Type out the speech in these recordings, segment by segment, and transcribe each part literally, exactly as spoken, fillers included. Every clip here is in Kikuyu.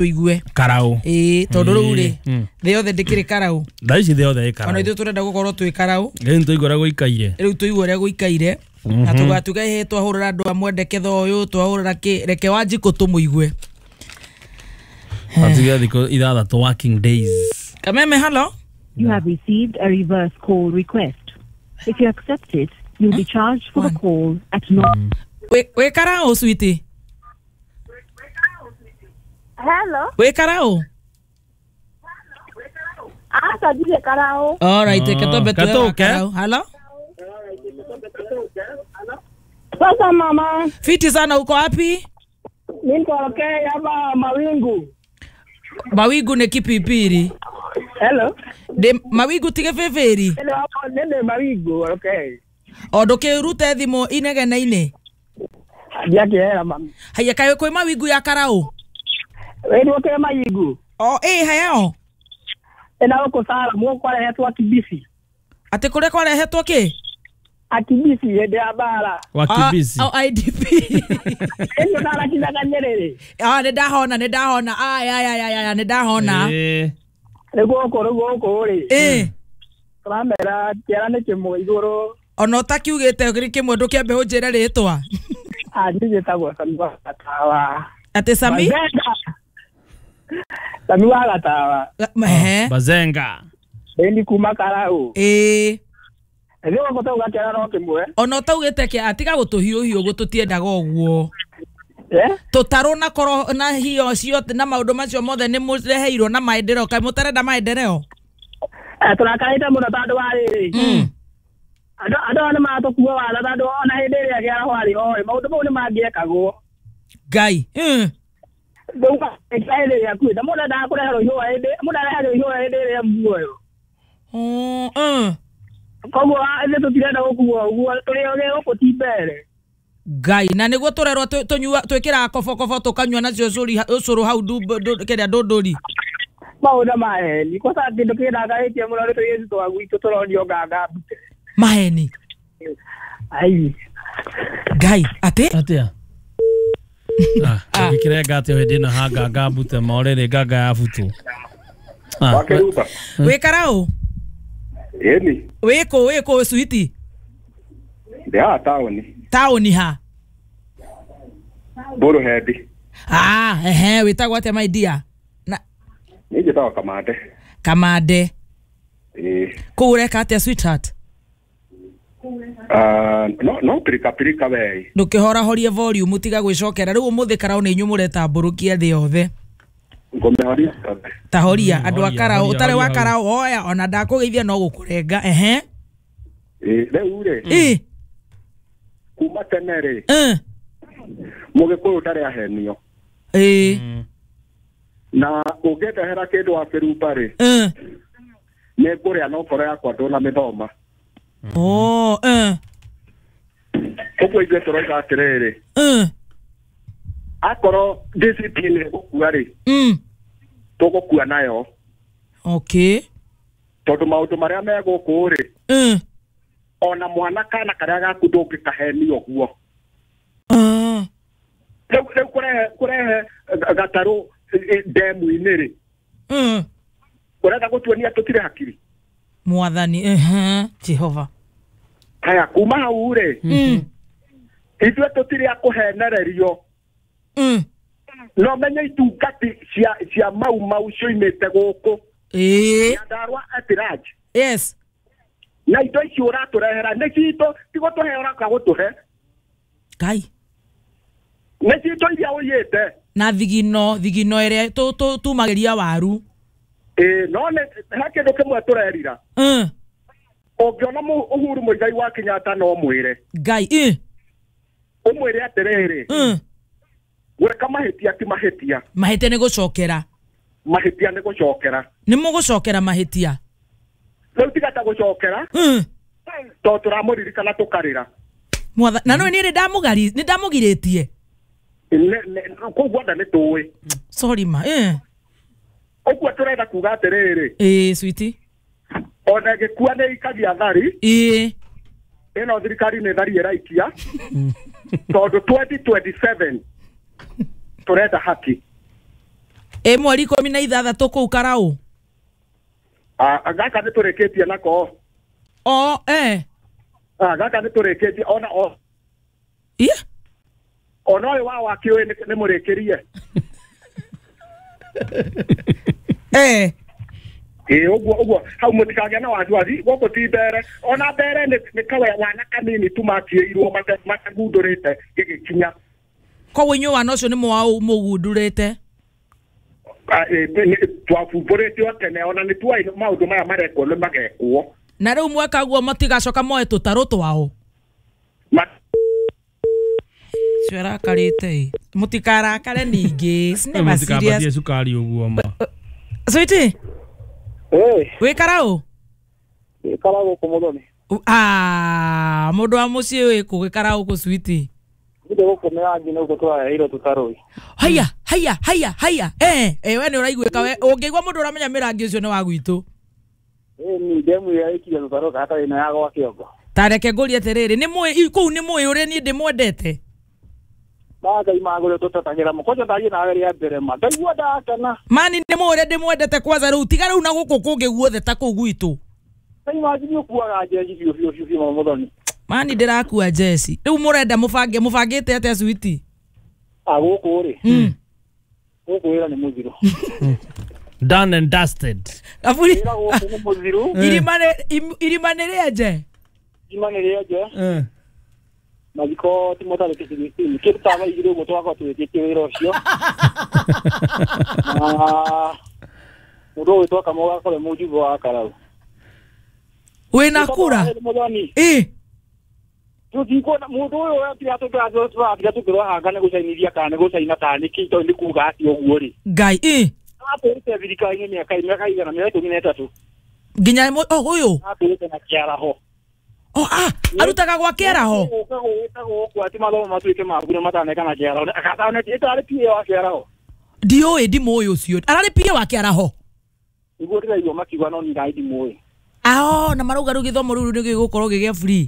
Tuigue Karau. Ĩĩ, tondũ rĩu rĩ, Mm. thĩ yothe ndĩkĩrĩ karau. Thaa ici thĩ yothe ĩ Ona karau. ithuĩ tũrenda gũkorwo twĩ karau. Rĩu nĩtũigua ũrĩa gũikaire. Rĩu tũigue ũrĩa gũikaire na tũgatuga ĩhĩ twahũrĩra andũ a mwendeketho ũyũ, twahũrĩra kĩ, reke Wanjikũ tũmũigue. Atuge thikũ ithathatũ, working days. Kameme, hello. You have received a reverse call request. If you accept it, you'll be charged for the call at no. Wĩ wĩ karau, sweetie? Hello. Wĩ karau? Aca, ndirĩ karau. Alright, reke twambe tuwe wa Katũke. karau. Hello. Sasa mama, Fiti sana, uko wapi? Niko okay hapa Mawingu. Mawingu nĩ kipipiri. Hello. Ndĩ Mawingu tige bĩbĩri. Hello, hapo nene Mawingu, okay. O ndũkĩrute thimũ inegene-inĩ. Ndiakĩhera mami. Haya, kaĩ kwĩ Mawingu ya karau? Wewe okay Mawingu? O ĩ hayao. Ena huko sala muko kwarehetwo akibisi. Atĩ kũrĩa kwarehetwo kĩ? Akibisi hĩndĩ ya bara. Wakibisi. Ah, oh, I D P. Ĩno ndarakinyaga Nyerere. Ah, nĩ ndahona, nĩ ndahona. Aya aya aya aya, nĩ ndahona. Ĩĩ. Rĩu gũkũ rĩu gũkũ rĩ. Ĩ. Tũramera kĩara nĩ kĩmwe igũrũ. Ona ũtakiugĩte kĩrĩ kĩmwe, ndũkĩambe ũnjĩre rĩtwa. Ah, niĩ njĩtagwo Sami wa Gatawa. Atĩ Sami? Bazenga. Sami wa Gatawa. Ehe. Bazenga. Ĩni kuma karau. Ĩ. Rĩu gũkũ tauga kĩara no kĩmwe. Ona ũtaugĩte kĩ, atiga gũtũhiũhiũ, gũtũtiendaga ũguo. Eh? Tũtarũ na koro na hiyo ciothe na maũndũ macio mothe nĩ mũreheirwo na maendereo, kaĩ mũtarenda maendereo? Eh, tũrakarĩte mũno tondũ wa rĩrĩ. Mm. Andũ andũ aya nĩ maratũkua watha tondũ ona hĩndĩ ĩrĩa kĩaraho arĩ oĩ maũndũ mau nĩ mangĩekagwo. Ngai. Mm. Rĩu hĩndĩ ĩrĩa akuĩte, mũndũ endaga kũreherwo ihũa hĩndĩ mũndũ areherwo ihũa hĩndĩ ĩrĩa muoyo. Oh, mm. Koguo ithuĩ tũtirenda gũkuo ũguo, tũrĩ ogĩ gũkũ ti mbere. Ngai, na nĩguo tũrerwo tũ- tũnyua twĩkĩraga kobokobo tũkanyua nacio ũcũri ũcũrũ hau ndumbo- ndũ- kĩrĩa ndũndũri. Maũndũ maheni kwanza, kĩndũ kĩndakarĩtie mũno nĩ tũirĩtu twa gwitũ tũronio nganga mbute. Maheni. Ai. Ngai, atĩ? Atĩa? Ah, ũngĩkĩrenga atĩa hĩndĩ ĩno ha nganga mbute morĩrĩ nganga ya butu. Ah, Wakeruba. Wĩ karau? Ĩni. Wĩkũ, wĩkũ, sweetie? Ndĩ haha taũni. Taũni ha? Mbũrũhendi. Ah, ehe, wĩtagwo atĩa, my dear? Na Niĩ njĩtagwo Kamande. Kamande. Ĩĩ. Kũu ũreka atĩa, sweetheart? Ah, no no pirika pirika we. Ndũkĩhorahorie volume, tiga gwĩcokera rĩu. Ũmũthĩ karau nĩ inyuĩ mũretambũrũkia thĩ yothe. Ngũmĩhoria. Ta horia. Mm, Andũ a horia, karau horia, ũtarĩ wa horia. karau oya ona ndakũgeithia no gũkũrenga, ehe. Ĩĩ, rĩu rĩ, Ĩ. kuma tene rĩ, eh, mũgĩkũyũ ndarĩ ahenio. Ĩ. Mm. Na ũngĩndehera kĩndũ wa kĩrumba rĩ, eh. nĩ ngũrĩa no ngoro yakwa ndũnamĩthoma. Oh, eh, Ũguo ithuĩ tũroiga atĩrĩrĩ, eh, akorwo D C P nĩ ĩgũkua rĩ, mm. tũgũkua nayo. Okay. Tondũ maũndũ marĩa me gũkũ rĩ, eh, ona mwana kana karĩa gaku ndũngĩkahenio ũguo. eh. Rĩu rĩu kũrehe kũrehe eh, gatarũ eh, ndemu-inĩ rĩ, eh. ũrenda gũtuonia tũtirĩ hakiri? Mwathani, ehe, Jehova. Haya, kuma hau rĩ, mm. ithuĩ tũtirĩ a kũhenererio. mm. No menye itungati cia cia mau mau cioimĩte gũkũ Ĩ. Nyandarua at large. Yes. Na indo icio ũratũrehera nĩ citũ, ti gũtũhe ũroka gũtũhe. Ngai. Nĩ citũ iria ũiyĩte. Na thigino thigino ĩrĩa tũ- tũ- tumagĩria waru. Ĩĩ, no nĩ he kĩndũ kĩmwe tũrerira. eh. Ũngĩona Mu- Uhuru Muigai wa Kenyatta, no mwĩre, Ngai, eh. ũmwĩre atĩrĩrĩ, eh. gwĩka mahĩtia ti mahĩtia. Mahĩtia nĩ gũcokera. Mahĩtia nĩ gũcokera. Nĩ mũgũcokera mahĩtia. Rĩu tiga ta gũcokera, mm. tondũ tũramũririkana tũkarĩra. Mwatha na nĩ nĩ ndamũgari nĩ ndamũgirĩtie. Nĩ- nĩ- koguo nda nĩ tũĩ. Sorry ma, eh. Ũguo tũrenda kuga atĩrĩrĩ, Ĩ, sweetie. ona ĩgĩkua nĩ ikagia thari. Ĩ. Ĩno thirikari nĩ thari ĩraikia, tondũ twenty twenty-seven tũrenda haki. Ĩ mweri ikũmi na ithathatũ kũu Karau. Ah, gaka nĩ tũrĩkĩtie nako. O eh. Ah, gaka nĩ tũrĩkĩtie ona o. Ie? Ona ũyũ wa wakĩũĩ nĩ mũrĩkĩrie. Eh. Ĩ ũguo ũguo hau mũtikagĩa na wasiwasi gũkũ ti mbere ona mbere nĩ kawe wana kanini tu matiĩirwo matagundũrĩte gĩgĩkinya. Koguo inyuĩ wana ũcio nĩ mũgundũrĩte? Twabumbũrĩte o tene ona nĩ tuoĩ maũndũ maya marekwo nĩ magekwo. Na rĩu mweka guo matigacoka moe tũtarũ twao. Cio arakarĩte ĩ. Mũtikarakare ningĩ. It's never serious. Cukari ũguo ma. Sweetie. Eh. Wĩ Karau? Wĩ Karau gũkũ Mũthoni. Ah, mũndũ wa mũciĩ wĩ kũ wĩ Karau kũ sweetie? Nĩ gũkũ mĩrangi nĩ gũkũ tũraheirwo tũtarũi. Haya, haya, haya, haya. Eh, eh we nĩ ũraiguĩka we. Ũngĩigua mũndũ ũramenya mĩrangi ũcio nĩ wa gwitũ. Eh, ni demu ya iki ya tũtarũ hatarĩ na ya gwa kĩongo. Ta reke ngũrie atĩrĩrĩ, nĩ mũĩ kũu nĩ mũĩ ũrĩa niĩ ndĩmwendete? Ngai magũrũ tũtetagĩra mũkwanja ndathiĩ nawe rĩa mbere ma. Ndaigua ndakena. Mani nĩ mũĩ ũrĩa ndĩmwendete kwanza rĩu tiga rĩu na gũkũ kũngĩ guothe ta kũu gwitũ. Ngai imagine ũkuaga njeci biũ biũ biũ biũ Mũthoni. Mani ndĩrakua njeci. Rĩu mũrenda mũbange mũbangĩte atĩa sweetie? Ah, gũkũ rĩ. Mm. Gũkũ wĩra nĩ mũthiru. Done and dusted. Aburi. Wĩra gũkũ nĩ mũthiru. Irima nĩ irima nĩ rĩenje. Irima nĩ rĩenje. Eh. Mathiko ti mũtarĩki sixteen kĩndũ ta thaa igĩrĩ ũguo tũgakorwo tũrĩkĩtie wĩra ũcio. Na mũndũ ũgwĩtwo Kamau agakorwo e mũjumbe wa Karau. Wĩna kura? Ĩ. Tũtikuona mũndũ ũyũ atiga tũkĩra tũkĩrwo nĩ gũcainithia kana nĩ gũcaina kana nĩ kĩ tondũ nĩ kuga atĩ ũguo rĩ. Ngai ĩ. Atũrĩte thirikari-inĩ mĩaka mĩaka igana mĩaka ikũmi na ĩtatũ. Nginya oh ũyũ? Atũrĩte na kĩaraho. Oh ah, arutaga gwa kĩaraho. Gũka gũkũ atĩ mathomo matuĩke ma bure mataneka na kĩaraho. Akatane ĩtarĩ P A wa kĩaraho. Ndiũĩ ndimũĩ ũcio. Ararĩ P A wa kĩaraho. Nĩguo ndĩraigua makiuga no niĩ ngai ndimũĩ. Ah, na marauga rĩu gĩthomo rĩu nĩ gĩgũkorwo gĩgĩa free.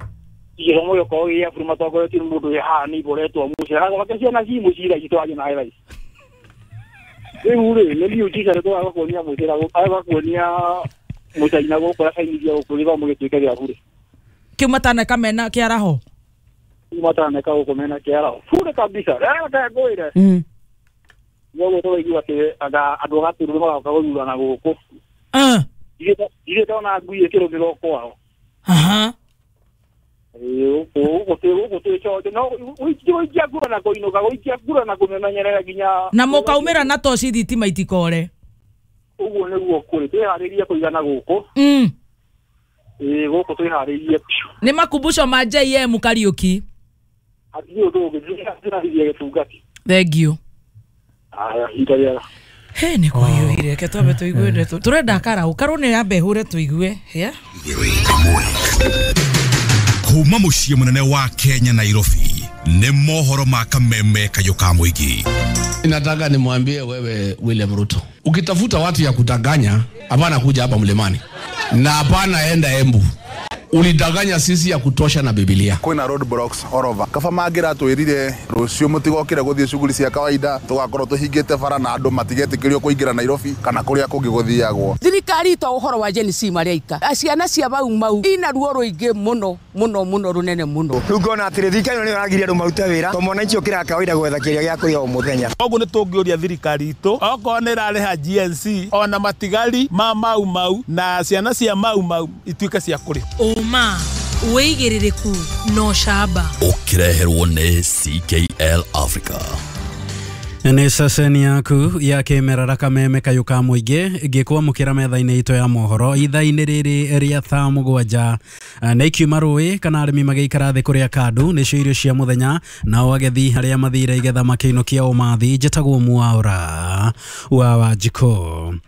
Gĩthomo gĩgũkorwo gĩgĩa free matongoretio nĩ mũndũ wĩ haha nĩ iboretwo mũciĩ. Agake ciana ci mũciĩ thaa ici tũrathiĩ nawe thaa ici. Rĩu rĩ nĩ miujiza rĩ tũgaga kuonia mũcĩra agaga kuonia mũcaina gũkũ acainithia gũkũ gĩthomo gĩtuĩke gĩa bure. Kĩu mataneka mena kĩaraho? Kĩu mataneka gũkũ mena kĩaraho. Bure kabisa. Rĩu ngwĩre. Mm. Nĩguo tũraigua atĩ anga andũ a Gatũrũ magoka gũthurana gũkũ. Ah. Ithuĩ ndona ngui ĩkĩrũmĩrwo kwao. Aha. Ĩĩ gũkũ gũkũ twĩ conjo no gũikia ngura na kũinũka gũikia ngura na kũmemenyerera nginya na mũkaumĩra na toci thitima itikore. Ũguo nĩguo kũrĩ twĩharĩrie kũigana gũkũ. Mm. Ĩĩ gũkũ twĩharĩrie biũ. Nĩ makumbusho ma J M Kariuki. Hatirĩ ũndũ ũngĩ ndĩrathithia gĩtungati. Thank you. Aya ihinda rĩega. He nĩ kũhiũhire reke twambe tũigue ndeto. Tũrenda Karau Karau nĩ yambe hũre tũigue. Yeah. Kuma mũciĩ mũnene wa Kenya Nairobi nĩ mohoro ma kameme kayũ ka mũingĩ. Nataka nimwambie wewe William Ruto, ukitafuta watu ya kudanganya hapana kuja hapa mlimani na hapana enda Embu. Ulidanganya sisi ya kutosha na Biblia. Kwina roadblocks all over. Kaba mangira twirire rucio mutigokire guthie shughuli cia kawaida tugakorwo tuhingite bara na andu matigetikirio kuingira Nairobi kana kuria kungi guthiagwo. Thirikari to uhoro wa Gen Z mareika. Ciana cia bau mau ina ruo ruingi muno muno muno runene muno. Riu ngona atiri thirikari ĩno nĩyo ĩragiria andũ marute wĩra to mwananchi ũkĩraga kawaida gwetha kĩrĩa gĩa kũrĩa o mũthenya. Koguo nĩ tũngĩũria thirikari itũ okorwo nĩ ĩrarĩha G N C ona matigari ma mau mau na ciana cia mau mau ituĩke cia kũrĩha. Ũma wĩigĩrĩrĩku no camba ũkĩreherwo nĩ C K L Africa. Nĩ ceceni yaku ya kĩmerera kameme kayũ ka mũingĩ ngĩkwamũkĩra metha-inĩ itũ ya mohoro ithaa-inĩ rĩrĩ rĩa thaa mũgwanja nĩ ikiuma rũĩ kana arĩmi magĩikara thĩ kũrĩa kandu nĩcio irio cia mũthenya nao agethi arĩa mathire igetha makĩinũkia ũmathi. Njĩtagwo Mwaũra wa Wanjikũ.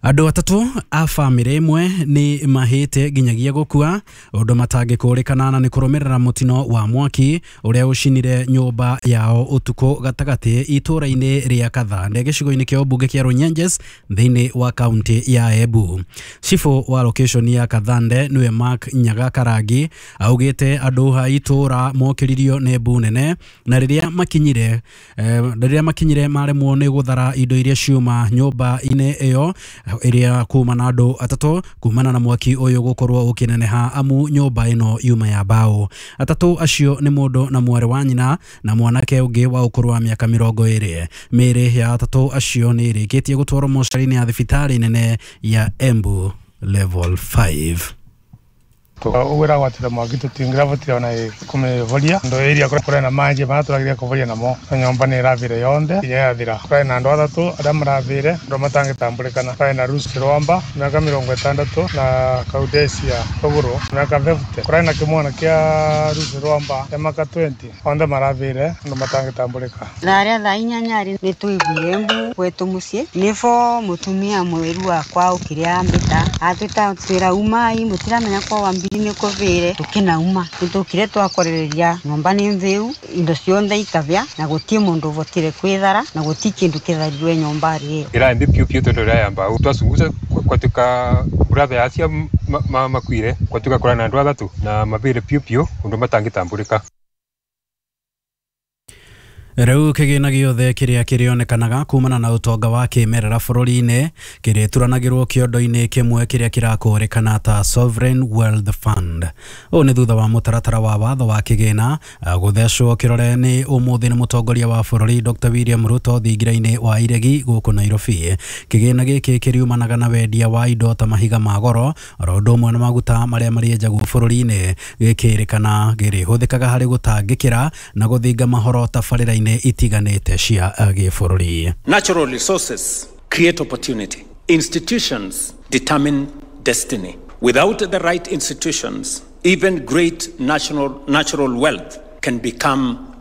Andũ atatũ a bamĩrĩ ĩmwe nĩ mahĩte nginyagia gũkua ũndũ matangĩkũrĩkana na nĩ kũrũmĩrĩra mũtino wa mwaki ũrĩa ũcinire nyũmba yao ũtukũ gatagatĩ itũũra-inĩ rĩa Kathande gĩcigo-inĩ kĩa ũmbunge kĩa Runyenjes thĩinĩ wa kaunti ya Embu. Cibũ wa location ya Kathande nĩwe Mark Nyaga Karangi augĩte andũ a itũũra mokĩririo nĩ mbu nene na rĩrĩa makinyire eh, rĩrĩa makinyire maremwo nĩ gũthara indo iria ciuma nyũmba-inĩ ĩyo ĩrĩa kuma na andũ atatũ kumana na mwaki ũyũ gũkorwo ũkĩneneha amu nyũmba ĩno yuma ya mbaũ. Atatũ acio nĩ mũndũ na mwarĩ wa nyina na mwanake ũngĩ wa ũkũrũ wa mĩaka mĩrongo ĩrĩ. Mĩĩrĩ ya atatũ acio nĩ ĩrĩkĩtie gũtwarwo mocarĩ-inĩ ya thibitarĩ nene ya Embu level five. Uguo gwatire mwaki tutingĩravotire ona kumivoria ndo iria kũrĩ na manji maria tũrageria kũvoria namo na nyũmba nĩ ĩravire yonthe nginya yathira. Kũrĩ na andũ atatũ arĩa maravire andũ matangĩtambũrĩkana. Kũrĩ na Ruth Rwamba mĩaka mĩrongo ĩtandatũ na Kaudesia Rũgũrũ mĩaka fifty. Kũrĩ na kĩmwana kĩa Ruth Rwamba kĩa mĩaka twenty othe maravire andũ matangĩtambũrĩka. Thaa rĩa thaa inyanya rĩ nĩ twaiguire mbu gwetũ mũciĩ nĩbo mũtumia mweru wakwa okire ambĩta atwĩta twĩra umai mũtiramenya kwa wambiri nĩ kũvĩre tũkĩnauma nĩtũkire twakorereria nyũmba nĩ mvĩu indo cionthe ikavĩa na gũtirĩ mũndũ ũvotire kwĩthara na gũtirĩ kĩndũ kĩtharirwe nyũmba ĩyo ĩra mbi piũ piũ tondũ ĩraya mbao twacunguca kwatuĩka brother acio makuire kwatuĩka kũrĩ na andũ athatũ na mavĩre piũ piũ ũndũ matangĩtambũrĩka. Rĩu kĩgĩna gĩothe kĩrĩa kĩrĩonekanaga kumana na ũtonga wa kĩmerera bũrũri-inĩ kĩrĩturanagĩrwo kĩondo-inĩ kĩmwe kĩrĩa kĩrakũrĩkana ta Sovereign Wealth Fund. Ũũ nĩ thutha wa mũtaratara wa watho wa kĩgĩna gũthecwo kĩrore nĩ ũmũthĩ nĩ mũtongoria wa bũrũri Doctor William Ruto thingira-inĩ wa Iregi gũkũ Nairobi. Kĩgĩna gĩkĩ kĩriumanaga na wendia wa indo ta mahiga ma goro oro ũndũ ũmwe na maguta marĩa marĩenjagwo bũrũri-inĩ. Gĩkĩrĩkana gĩrĩhũthĩkaga harĩ gũtangĩkĩra na gũthinga mahoro tabarĩra-inĩ itiganĩte cia gĩbũrũri. Natural resources create opportunity. Institutions determine destiny. Without the right institutions, even great national natural wealth can become